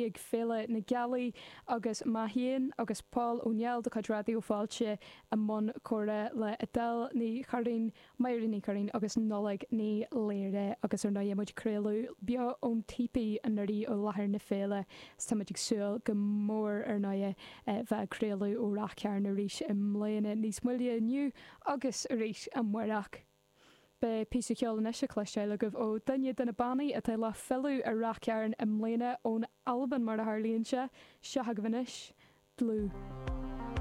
ag Féile na Gealaí agus mé féin agus Pól Ó Néill de chuid Raidió Fáilte i mbun comhrá le Edel Ní Churraoin, Máire Ní Churraoin agus Nollaig Ní Laoire agus ar ndóigh muid ag craoladh beo ón Típí anuraidh ó láthair na féile 's tá muid ag súil go mór ar ndóigh bheith ag craoladh ó Ráth Chairn arís i mbliana níos moille inniu agus arís amárach. Beidh píosa ceoil anois le cloisteáil agaibh ó duine de na bannaí atá le filleadh ar Ráth Chairn i mbliana, ón Albain mar a tharlaíonn sé. Seo agaibh anois, Dlúth.